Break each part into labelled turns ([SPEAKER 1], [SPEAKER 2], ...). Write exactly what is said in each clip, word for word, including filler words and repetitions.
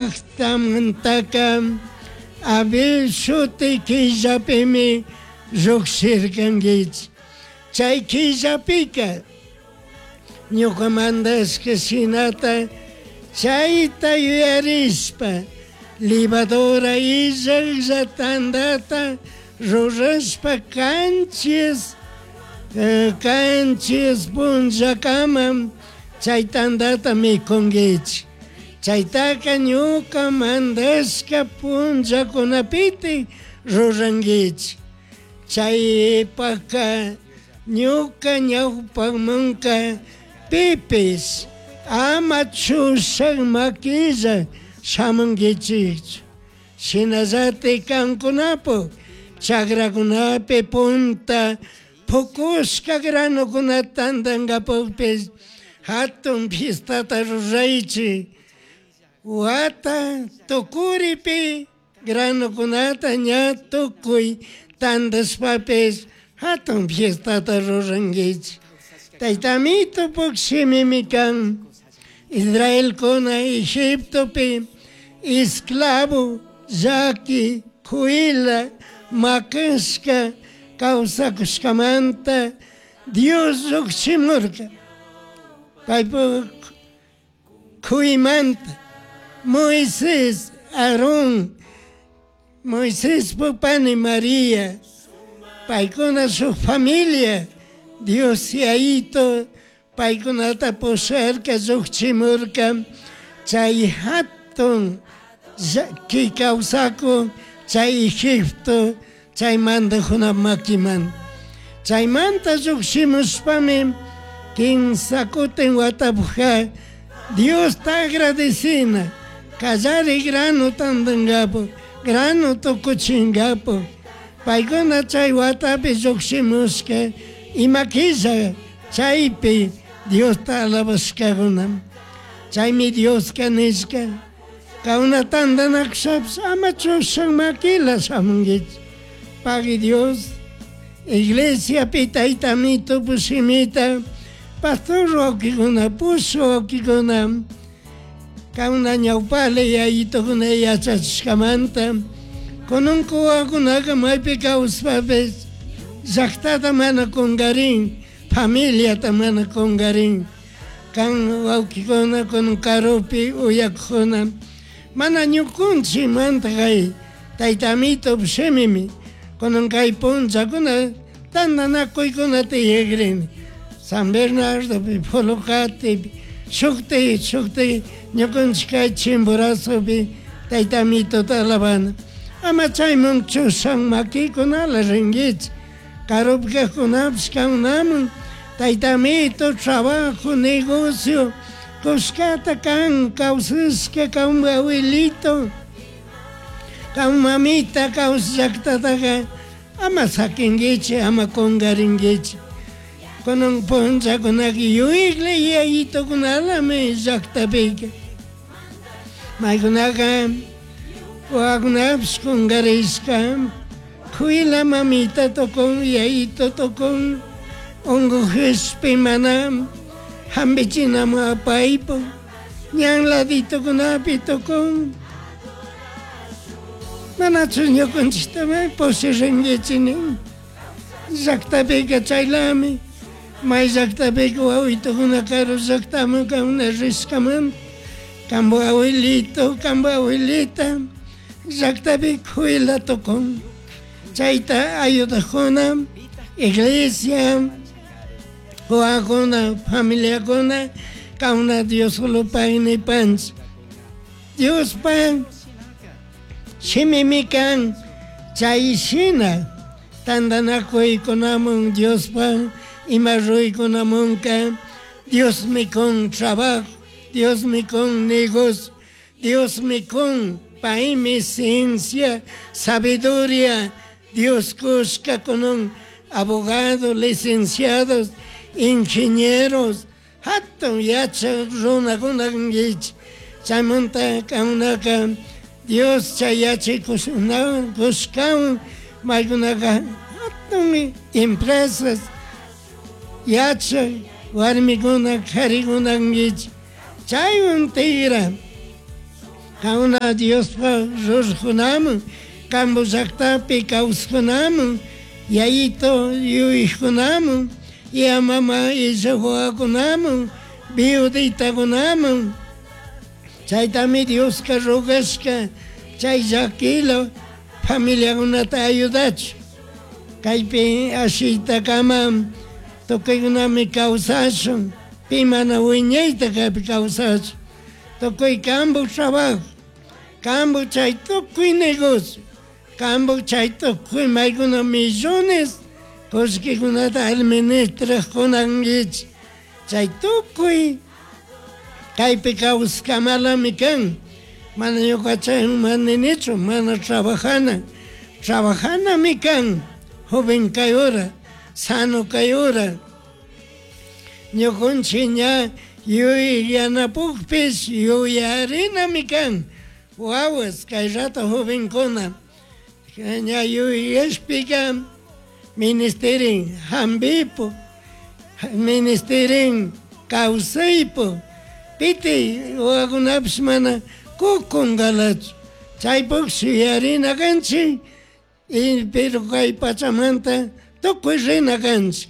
[SPEAKER 1] Llajtamantaka Abib shuti killapimi llujshirkankichik. Chay killapika ñuka mandashka shinata chayta yuyarishpa levadura illajlla tandata rurashpa kanchis kanchis punllakaman chay tandata mikunkichik. Chaytaka ñuka mandashka punllakunapiti rurankichik. Chaypaka ñuka ñawpamanka pipish ama chushak makilla shamunkichikchu. Shinallatik kankunapuk chakrakunapi punta pukushka granukunata tantankapukpish hatun fiestata ruraychik. Wata tukuripi granukunata ña tukuy tantashpapish hatun fiestata rurankichik. Taytamitupuk shimimi kan Israelkuna Egiptopi esclavo llaki kuyla makashka kawsakushkamanta Dios llukshimurka. Paypuk kuymanta Moisés, Aarón, Moisés pani María, paykuna shuk familia, Dios yayito paykunata pusharka llukchimurka chay hatun llaki kawsakun chay Egipto chay mandajuna makiman. Chaymanta llukshimushpami kimsa kutin watapuja Diosta agradecina kallari grano tantankapu grano tukuchinkapu paykuna chay watapi llukshimushka ima killa chaypi Diosta alabashkakuna. Chaymi Dioska nishka kauna tantanakushapish ama chushan makila shamunkichik. Pagui Dios iglesiapi taytamito shimita pastor wawkikuna pushu wawkikuna kauna ñawpali yayitokuna yachachishkamanta kunan wawakunaka maypi kawspapish llaktata mana kunkarin familiata mana kunkarin kan wawkikuna kunan karupi uyakukuna mana ñukunchikmanta kay taytamito shimimi kunan kay punllakuna tantanakuykuna tiyakrini San Bernardopi, Folocatipi, shukti shukti ñukanchik kay Chimborazopi taytamitota alabana. Ama chayman chushan makikunala rinkichik karupi kajkunapish kankunaman taytamito trabajo, negocio kushkata kan kawsashka kan abuelito kan mamita kawsallaktataka ama sakinkichik ama kunkarinkichik. Kunan punllakunaka yuyakla yayitukunalami llaktapika maykunaka wawakunapish kunkarishka kuyla mamita tukun yayito tukun unkukishpi mana hampichinamun apaypuk ñan laditukunapi tukun manachu ñukanchikta pushirinkichik nin llaktapika chaylami may llaktapika wawitukuna karu llaktaman kankuna rishkamanta kanpak abuelito kanpak abuelita llaktapi kuyla tukun chayta ayudakuna iglesia wawakuna familiakuna kankuna Dioslopaq nipanchik. Diospak shimimi kan chay shina tantanakuykunamun Diospak ima ruykunamunka Diosmi kun trabajo, Diosmi kun negocio, Diosmi kun paymi ciencia, sabiduría, Dios kushka kunan abogados, licenciados, ingenieros, hatun yachak runakuna kankichik. Chaymanta kankunaka Dios chay yachay kushkawan maykunaka hatun empresas yachak warmikuna karikuna kankichik. Chaywan tigra Kauna Diospaj rurajkunaman, kampu llaktapi kawsajkunaman, yayito yuyajkunaman, ya mama illaj wawakunaman, viuditakunaman. Chaytami Dioska rogashka chay llakila familiakunata ayudachun. Kaypi ashiytakama tukuykunami kawsashun, pi mana wiñayta kaypi kawsashun. Tukuy kampu trabajo, kampu chay tukuy negocio, kampu chay tukuy maykuna millones kullkikunata administrajkunankichik. Chay tukuy kaypi kawsakamalami kan. Mana ñuka chayman ninichu, mana trabajana, trabajanami kan, joven kay hora, sano kay hora. Ñukunchik ña yuyanapukpish yuyarinami kan. Wawas kay rato jovenkuna ña yuyashpika ministerin hampipu, ministerin kawsaypu, piti wawakunapish mana kukunkalachu. Chaypukshi yuyarina kanchik, y pero kay pachamanta tukuy rina kanchik.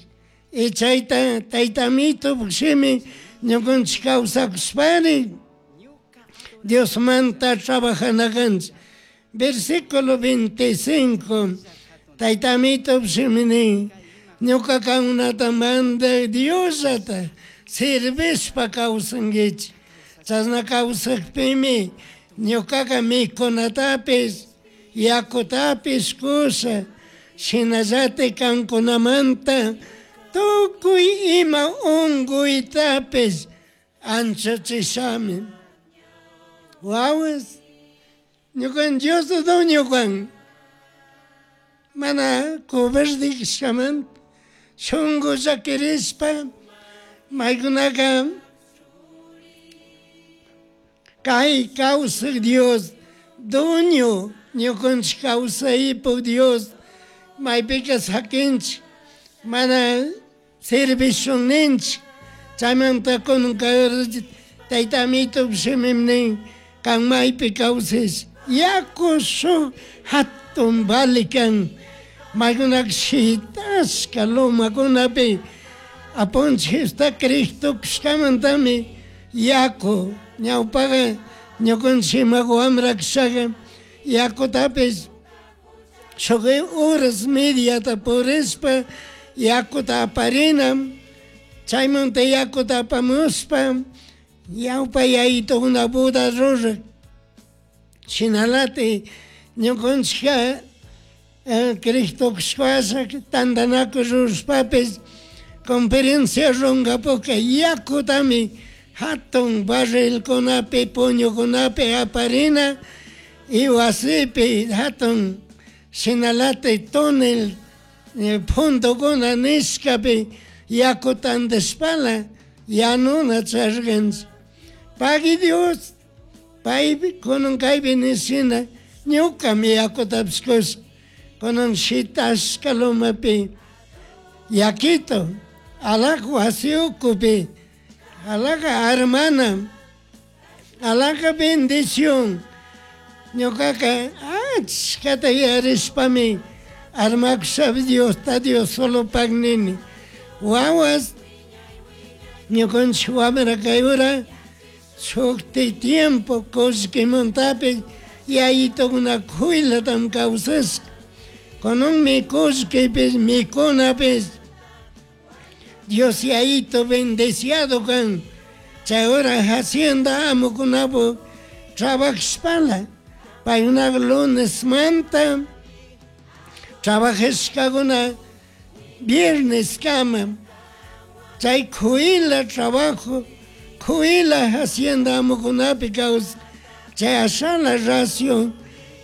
[SPEAKER 1] Y chayta tayta Amito shimi ñukanchik kawsakushpari Diosmanta trabajana kanchik. Versículo veinticinco, tayta Amito shimi nin, ñuka kankunata mandak Diosllata servishpa kawsankichik. Chashna kawsakpimi ñukaka mikunatapish yakutapish kusha, shinallatik kankunamanta tukuy ima unkuytapish anchachishami. Wawas, ñukan Dios dueño kan, mana cobardishkamanta shunku llakirishpa maykunaka kay kawsak Dios dueño, ñukanchik kawsaypuk Dios maypika sakinchik, mana servishunninchik. Chaymanta kunan tayta Amito shimimi nin, kan maypi kawsash yaku shuk hatun vali kan, maykunaka shitashka lumakunapi apunchik Jesusta Cristo kashkamantami yaku ñawpaka ñukanchik ima wambra kashaka yakutapish shuk horas mediata purishpa yakuta aparina, chaymanta yakuta apamushpa ñawpa yayitukuna boda rurak. Shinalati ñukanchikka Cristo kashpasha tantanakuy rurashpapish conferencia runkapuka yakutami hatun barrilkunapi puñukunapi aparina y wasipi hatun shinalati túnel puntukuna nishkapi yakuta andashpala yanuna charkanchik. Pagui Dios, paypi kunan kaypi nishina ñukami yakutapish kusha, kunan shitashka lumapi yakito alaka wasi ukupi, alaka armana, alaka bendición. Ñukaka achkata yarishpami armakusha Diosta Dios solo nini. Wawas ñukanchik wambra kay hora shukti tiempo kullkimantapish yayitukuna kuylatam kawsashka. Kunanmi kullkipish mikunapish Dios yayito bendeciado kan. Chay hora hacienda amukunapu trabajashpala paykunaka lunes manta trabajashkakuna viernes kama. Chay kuyla trabajo, kuyla hacienda amukunapi kawsaj. Chay ashala ración,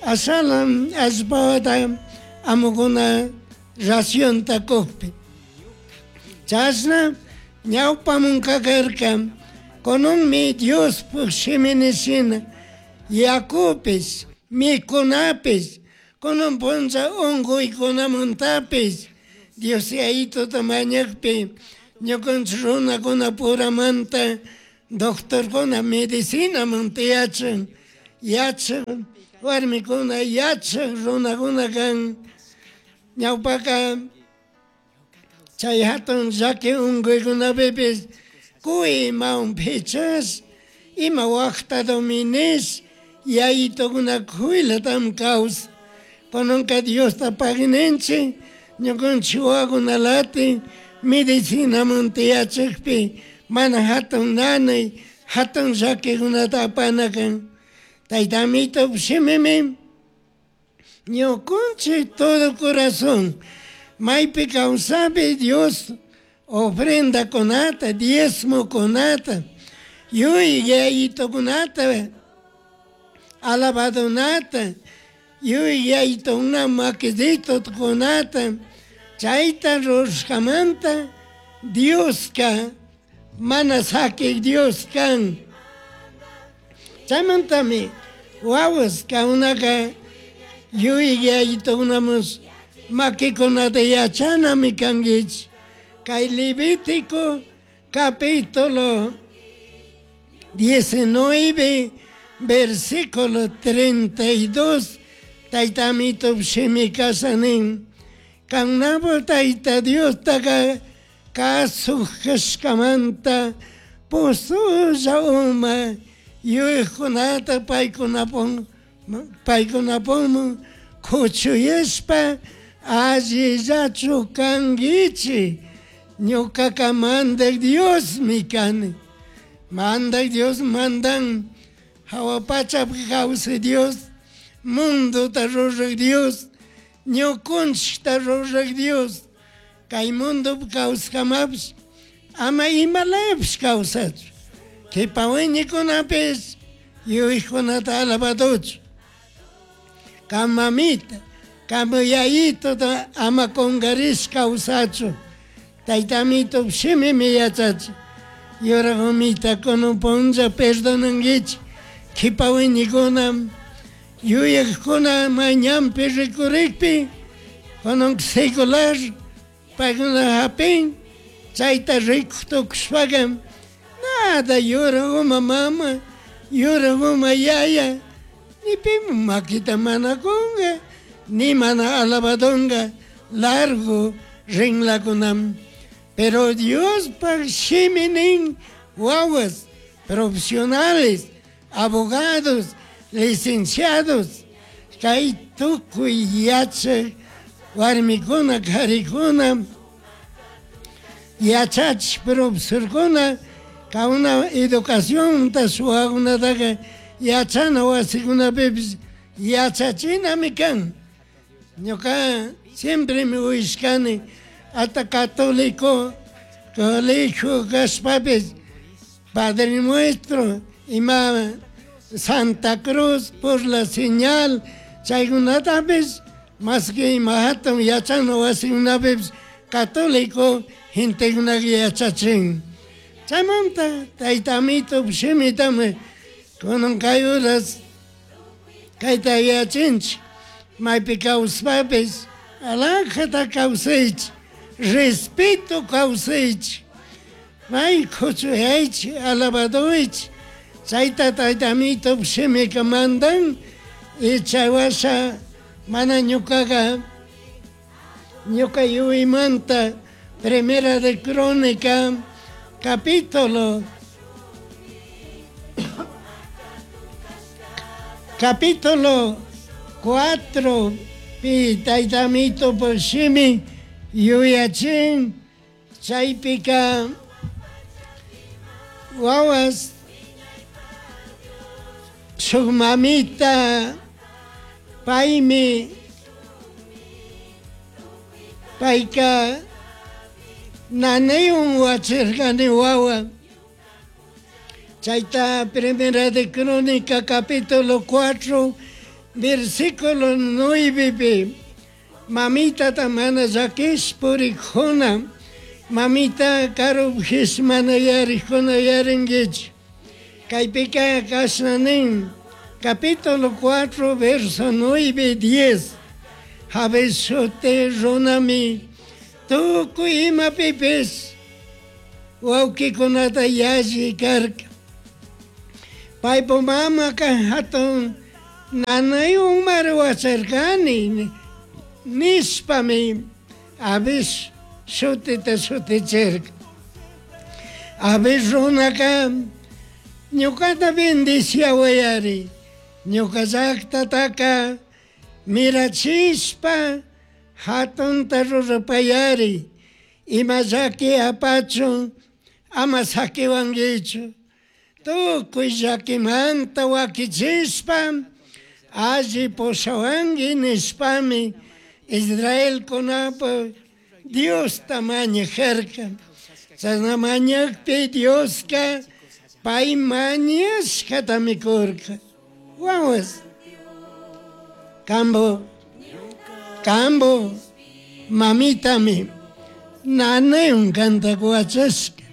[SPEAKER 1] ashala allpata amukuna racionta kukpi. Chashna ñawpamunka karka, kunanmi Diospuk shimini shina yakupish, mikunapish, kunan punlla unkuykunamantapish Dios yayituta mañakpi ñukanchik runakunapuramanta doctorkuna medicinamanta yachan, yachaj warmikuna yachaj runakuna kan ñawpaka chay hatun llaki unkuykunapipis kuy imawan pichash ima waqtatomi nish yayitukuna kuylatam kawsan kunanka Diosta paguininchik ñukanchik wawakunalati medicinamanta yachakpi mana hatun nanay hatun llakikunata apana kan Tayta Amito shimimi ñukunchik todo corazón maypi kawsapi Dios ofrendakunata diezmokunata yuy yayitukunata alabadunata yuy yayitukuna makisitukunata chayta rurashkamanta Dioska mana sakik Dios kan chaymantami wawas kankunaka yuy yayitukunamush makikunata yachanami kankichik kay Levítico capítulo diecinueve versículo treinta y dos Tayta Amito shimi kasha nin kannapak Tayta Diostaka kasuj kashkamanta pusulla uma yuyajkunata paykunapun paykunapunman kuchuyashpa allillachu kankichik ñukaka mandak Diosmi kani mandak Dios mandan hawa pachapi kawsay Dios mundota ruraq Dios ñukunchikta ruraq Dios kay mundopi kawsakamapish ama imalapish kawsachu kipa wiñikunapish yuyajkunata alabaduchu kan mamita kan yayituta ama kunkarish kawsachu Tayta Amito shimimi yachachin yurak umita kunan punlla perdonankichik kipa wiñikuna yuyajkuna mañanpi rikurikpi kunan secular paykuna hapin chayta rikuk tukushpaka nada yurak uma mama yurak uma yaya ni piman makita mana kunka ni mana alabadunka largo rinlakunami pero Diospak shimi nin wawas profesionales abogados licenciados kay tukuy yachak warmikuna karikuna yachachik profesorkuna kauna educacionta suwakunataka yachana wasikunapipish yachachinami kan ñuka siempre mi uyashkani hasta católico colegio kashpapis Padre Nuestro ima Santa Cruz por la señal chaykunatapis mas que ima hatun yachana wasikunapipish católico gentekunaka yachachin chaymanta Tayta Amito shimitami kunan kay horas kayta yachinchik maypi kawsapapis alajata kawsaychik respeto kawsaychik may kuchuyaychik alabaduychik chayta Tayta Amito shimika mandan y chay washa mana ñukaka ñuka yuymanta Primera de Crónica capítulo capítulo cuatro pi Tayta Amito shimi yuyachin chaypika wawas shuk mamita paymi payka nanaywan wachirkani wawa chayta Primera de Crónica capítulo cuatro versículo nueve mamitata mana llakish purikuna mamita karupish mana yarikuna yarinkichik kaypika kashna nin capítulo cuatro verso nueve diez Jabes shuti runami tukuy imapipis wawkikunata yalli karka Paypa mamaka hatun nanaywan wacharkani nishpami Jabez shutita shutichirka. Jabez runaka ñukata bendiciawayari, ñuka llaktataka mirachishpa hatunta rurapayari, ima llaki apachun ama sakiwankichu, tukuy llakimanta wakichishpa alli pushawanki nishpami Israelkunapa Diosta mañajarka. Chashna mañakpi Dioska pay mañashkatami kurka. Wawas, kambo, kambo mamitami nanaywan kanta wachashka.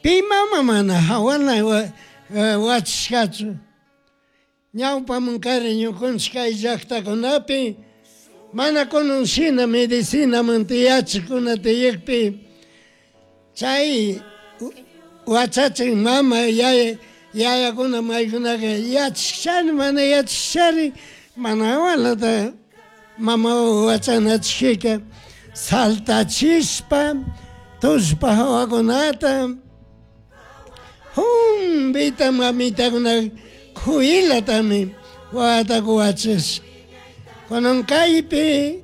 [SPEAKER 1] Pi mama mana hawana wachashkachu. Ñawpaman kari ñukanchik kay llaktakunapi mana kunan shina medicinamanta yachakuna tiyakpi chay wachachin mama yaya yayakuna maykunaka yachashchari mana yachashchari mana hawalata mama wachanachikika saltachishpa tullpa hawakunata humpita mamitakuna kuylatami wawata wachashka. Kunan kaypi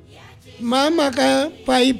[SPEAKER 1] mamaka pay